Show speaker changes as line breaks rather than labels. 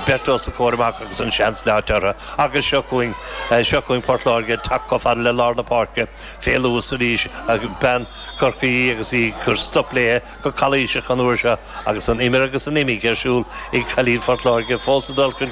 Beirt os a comhair amach agus an seans leáite orthu agus seo chugainn, seo chugainn Port Láirge ag teacht chomh fada le lár na páirce fé luas arís ach bean Chorcaí í agus í ag cur stop léi go calaoiseach an uair seo agus an imir agus an imigh ar siúl ag cailín Phort Láirge fós ag dul chun.